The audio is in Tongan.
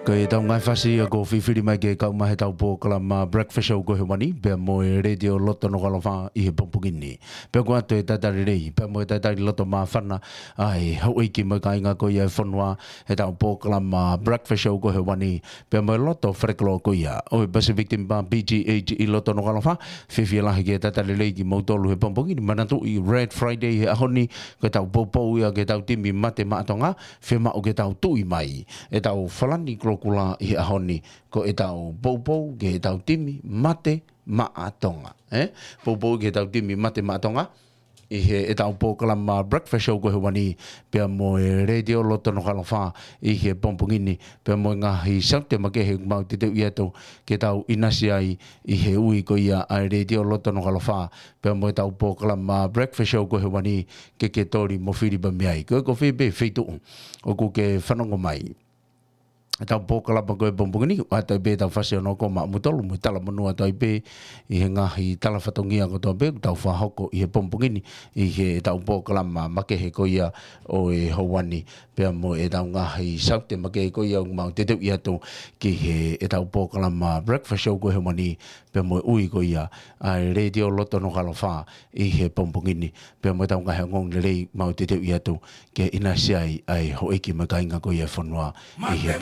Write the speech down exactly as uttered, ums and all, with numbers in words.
Ko e tau ngaahi fasi ia ko e fifili mai ke kau mai he tau polokalama Breakfast Show ko Hewani, pea mo e Letiō Loto Nukuʻalofa ʻi he pongipongi ni. Pea ko atu e talitali lelei, pea mo e talitali loto māfana, ʻa e houʻeiki mo e kāinga ko ia e fonua, he tau polokalama Breakfast Show ko Hewani, pea mo e loto faleloto ko ia ʻo e Pacific Timber P G H ʻi Loto Nukuʻalofa. Fiefia lahi ke talitali lelei kimoutolu he pongipongi ni. Manatuʻi Red Friday he ʻaho ni, ko e tau poupou ia ki he tau timi mate maʻa Tonga, fiemaʻu ke tau tuʻi mai e tau falani kolokula ʻi he ʻaho ni, ko e tau poupou ki he tau timi mate maʻa Tonga. ʻE? Poupou ki he tau timi mate maʻa Tonga ʻi he ʻetau polokalama Breakfast Show ko Hewani, pea mo e Letiō Loto Nukuʻalofa ʻi he pongipongi ni, pea mo e ngaahi saute makehe ʻoku mau teuteuʻi atu ke tau ʻinasi ai ʻi he ui ko ia ʻa e Letiō Loto Nukuʻalofa, pea mo e tau polokalama Breakfast Show ko Hewani, ke ke toli mo fili pē mei ai. Ko e ko fē pē feituʻu ʻoku ke fanongo mai e tau polokalama ko e pongipongi ni, ʻoatu ai pē tau fasi ʻo noko maʻa mutolu mo e talamonū atu ai pē ʻi he ngaahi tala fatongia kotoa pē ʻoku tau fakahoko ʻi he pongipongi ni ʻi he tau polokalama makehe ko ia ʻo e houa ni, pea mo e tau ngaahi saute makehe ko ia ʻoku mau teuteuʻi atu ki he ʻetau polokalama Breakfast Show ko Hewani, pea mo e ui ko ia ʻa e Letiō Loto Nukuʻalofa ʻi he pongipongi ni, pea mo e tau ngaahi ongoongo lelei mau teuteuʻi atu ke ʻinasi ai ʻa e houʻeiki mo e kāinga ko ia e fonua ʻi he